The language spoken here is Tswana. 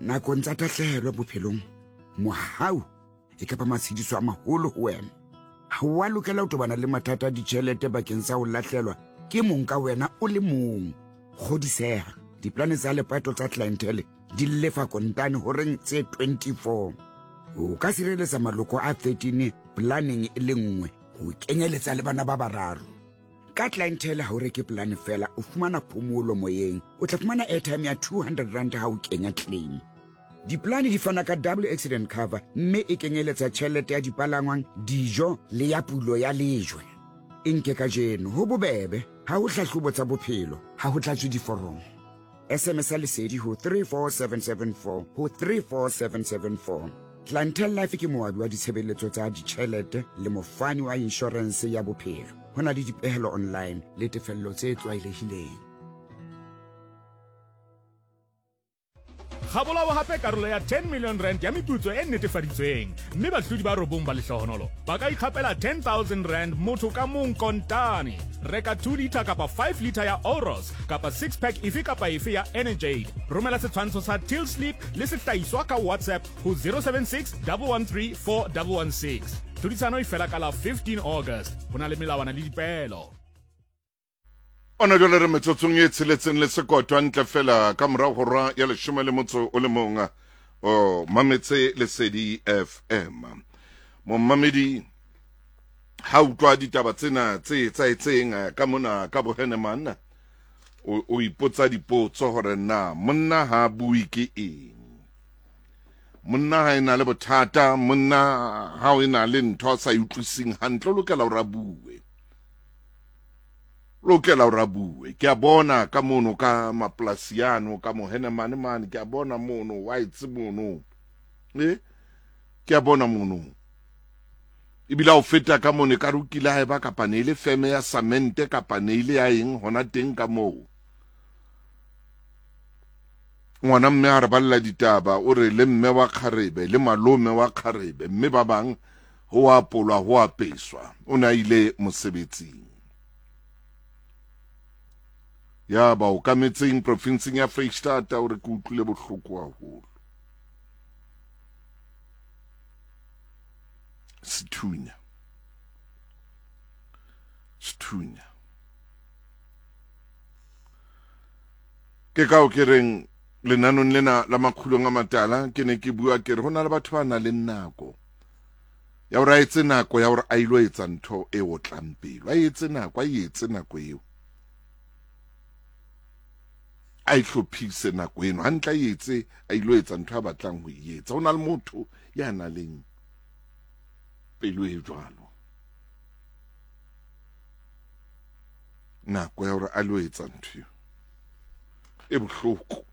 Nakong tsa tahlehelo bophelong, mohau e ka ba matshediso a maholo ho wena. Ha o a lokela ho tobana le mathata a ditjhelete bakeng sa ho lahlelwa ke mong ka wena o le mong. Kgodiseha, diplane tsa lepato tsa Clientele di lefa kontane horeng tse 24. O ka sireletsa maloko a 13 planeng e le nngwe ho kenyeletsa le bana ba bararo. Ka Clientele ha o reke polane fela, o fumana phomolo moyeng. O tla fumana airtime ya 200 rand ha o kenya claim. Diplane di fana ka double accident cover mme e kenyeletsa tjhelete ya dipalangwang, dijo le ya pulo ya lejwe. E nke kajeno, ho bobebe, ha ho hlahlobo tsa bophelo, ha ho tlatswe diforomo. SMS ya Lesedi ho 34774 ho 34774. Clientele Life ke moabi wa ditshebeletso tsa ditjhelete le mofani wa inshorense ya bophelo. Ho na le dipehelo online le tefello tse tlwaelehileng. Ga bolawa gape karolo ya 10 million rand ya meputso e netefaditsweng, mme bahlodi ba robong ba lehlohonolo ba ka ikgapela 10,000 rand motho ka mong kontane. Reka 2 litre kapa 5 litre ya Oros kapa six pack efe kapa efe ya Energade. Romela setshwantsho sa till slip le sehlahiswa ka WhatsApp ho 076 113 4116. Tlhodisano e fela ka la 15 August. Ho na le melawana le dipeelo. Ona jwale re metsotsong e tsheletseng le sekoto hantle fela ka morago hora ya leshome le motso o le mong o mametse Lesedi FM. Momamedi ha utlwa ditaba tsena tse etsahetseng eh, ka mona ka boheneman o, o ipotsa dipotso hore na monna ha bue ke eng monna ha e na le bothata monna ha o e na le ntho a sa e utlwising hantle o lokela hore a bue lokela hore a bue ke a bona ka mono ka mapolasi ano ka mohenemane mane ke a bona mono whites mono e ke a bona mono ebile a o feta ka mono e ka re o kile a eba kapa ne e le feme ya samente kapa ne ile ya eng hona teng ka moo ngwana mme a re balela ditaba o re le mme wa kgarebe le malome wa kgarebe mme ba bang ho apolwa ho apeswa o ne a ile mosebetsing ya ba okametseng profinseng ya Freistata o re ke utlwile bohloko haholo sethunya sethunya ke kao ke reng lenanong lena la makgulong a matala ke ne ke bua ke re ho na le batho ba nang le nako ya gore a etse nako ya gore a ilo etsa ntho e otlang pelo a etse nako a etse nako eo a e hlophise nako eno hantle a etse a ilo etsa ntho a batlang ho e etsa ho na le motho ya nang leng pelo e jwalo nako ya gore a lo etsa ntho eo e bohloko.